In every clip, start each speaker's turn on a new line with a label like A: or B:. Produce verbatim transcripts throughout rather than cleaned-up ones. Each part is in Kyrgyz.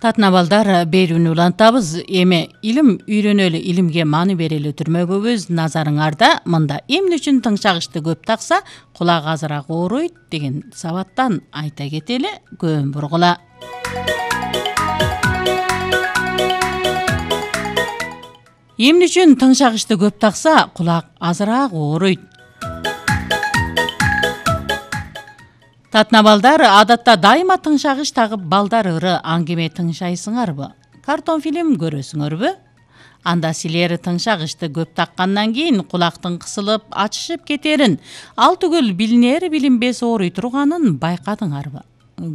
A: Татына балдар берүүнү улантабыз. Эми илим үйрөнөлү, илимге маани берели түрмөгүбүз назарыңарда. Мында эмне үчүн тыңшагычты көп такса, кулак азыраак ооруйт деген сабаттан айта кетели, көөн бургула. Эмне үчүн тыңшагычты көп такса, кулак азыраак ооруйт? Татына балдар, адатта дайыма тыңшагыч тагып балдар ыры аңгеме тыңшайсыңарбы? Картон фильм көрөсүңөрбү? Анда силер тыңшагычты көп таккандан кийин кулактын кысылып, ачышып кетерин, ал түгүл билинер билинбес ооруй турганын байкадыңарбы?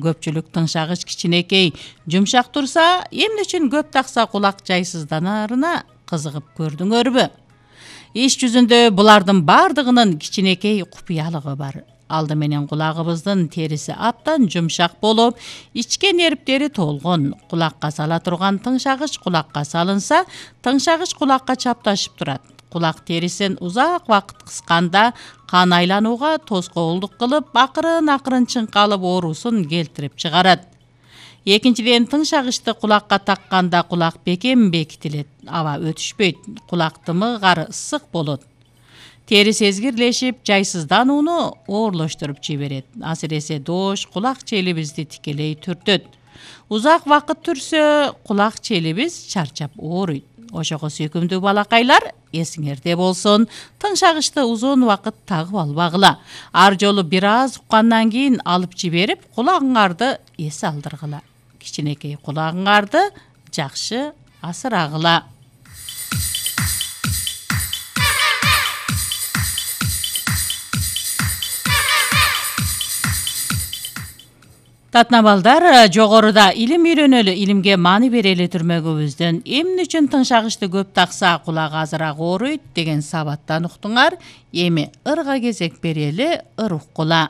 A: Көпчүлүк тыңшагыч кичинекей, жумшак турса, эмне үчүн көп такса кулак жайсызданарына кызыгып көрдүңөрбү? Иш жүзүндө булардын бардыгынын кичинекей купуялыгы бар. Алды менен кулагыбыздын териси абдан жумшак болуп, ичке нервтери толгон. Кулакка сала турган тыңшагыч кулакка салынса, тыңшагыч кулакка чапташып турат. Кулак терисин узак убакыт кысканда кан айланууга тоскоолдук кылып, акырын-акырын чыңкалып оорусун келтирип чыгарат. Экинчиден, тыңшагычты кулакка такканда кулак бекем бекитилет, аба өтүшпөйт, кулак тымыгары ысык болот. Тери сезгирлешип, жайсызданууну оорлоштуруп жиберет. Асиресе доош кулак челибизди тикелей түртөт. Узак убакыт түрсө, кулак челибиз чарчап ооруйт. Ошого сүйкүмдүү балакайлар, эсиңерде болсун, тыңшагычты узун убакыт тагып албагыла. Ар жолу бир аз уккандан кийин алып жиберип, кулагыңарды эс алдыргыла. Кичинекей кулагыңарды жакшы асырагыла. Татына балдар, жогоруда илим үйрөнөлү, илимге маани берели түрмөгүбүздөн эмне үчүн тыңшагычты көп такса кулак азыраак ооруйт деген сабаттан уктуңар. Эми ырга кезек берели, ыр уккула.